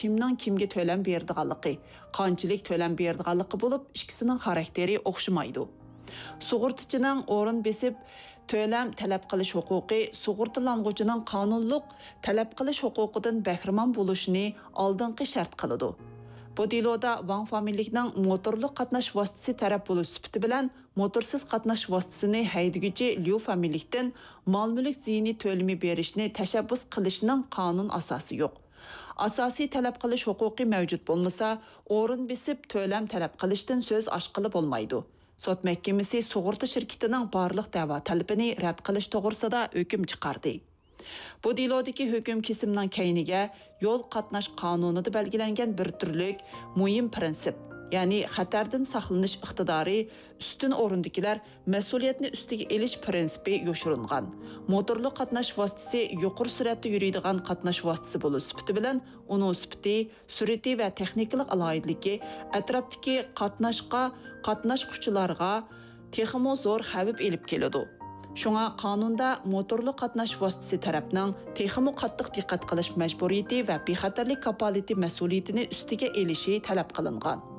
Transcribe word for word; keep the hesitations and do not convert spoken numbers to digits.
كىمنىڭ كىمگە تۆلەم بېرىدىغانلىقى، قانچىلىك تۆلەم بېرىدىغانلىقى بولۇپ، ئىككىسىنىڭ خاراكتېرى ئوخشىمايدۇ. سۇغۇرتىچىنىڭ ئورۇن بېسىپ تۆلەم تەلەپ قىلىش ھوقۇقى سۇغۇرتىلانغۇچىنىڭ قانۇنلۇق تەلەپ قىلىش ھوقۇقىدىن بەھرىمەن بولۇشىنى ئالدىنقى شەرت قىلىدۇ. بۇ دېلودا ۋاڭ فامىلىلىكنىڭ موتورلۇق قاتناش ۋاسىتىسى تەرەپ بولۇش سۈپىتى بىلەن موتورسىز قاتناش ۋاسىتىسىنى ھەيدىگۈچى ليۇ فامىلىلىكتىن مال-مۈلۈك زىيىنى تۆلىمى بېرىشنى تەشەببۇس قىلىشنىڭ قانۇن ئاساسى يوق. ئاساسىي تەلەپ قىلىش ھوقۇقى مەۋجۇت بولمىسا، ئورۇن بېسىپ تۆلەم تەلەپ قىلىشتىن سۆز ئاچقىلى بولمايدۇ. سوت مەھكىمىسى سۇغۇرتا شىركىتىنىڭ بارلىق دەۋا تەلىپىنى رەت قىلىش توغرىسىدا ھۆكۈم چىقاردى. بۇ دېلودىكى ھۆكۈم كېسىمنىڭ كەينىگە يول قاتناش قانۇنىدا بەلگىلەنگەن بىر تۈرلۈك مۇھىم پىرىنسىپ، يەنى خەتەردىن ساقلىنىش ئىقتىدارى، ئۈستۈن ئورۇندىكىلەر مەسئۇلىيەتنى ئۈستىگە ئېلىش پىرىنسىپى يوشۇرۇنغان. موتورلۇق قاتناش ۋاسىتىسى يۇقىرى سۈرئەتتە يۈرىدىغان قاتناش ۋاسىتىسى بولۇش سۈپىتى بىلەن، ئۇنىڭ سۈپىتى، سۈرئىتى ۋە تېخنىكىلىق ئالاھىدىلىكى ئەتراپتىكى قاتناشقا، قاتناشقۇچىلارغا تېخىمۇ زور خەۋپ ئېلىپ كېلىدۇ. شۇڭا قانۇندا موتورلۇق قاتناش ۋاسىتىسى تەرەپنىڭ تېخىمۇ قاتتىق دىققەت قىلىش مەجبۇرىيىتى ۋە بىخەتەرلىك كاپالىتى مەسئۇلىيىتىنى ئۈستىگە ئېلىشى تەلەپ قىلىنغان.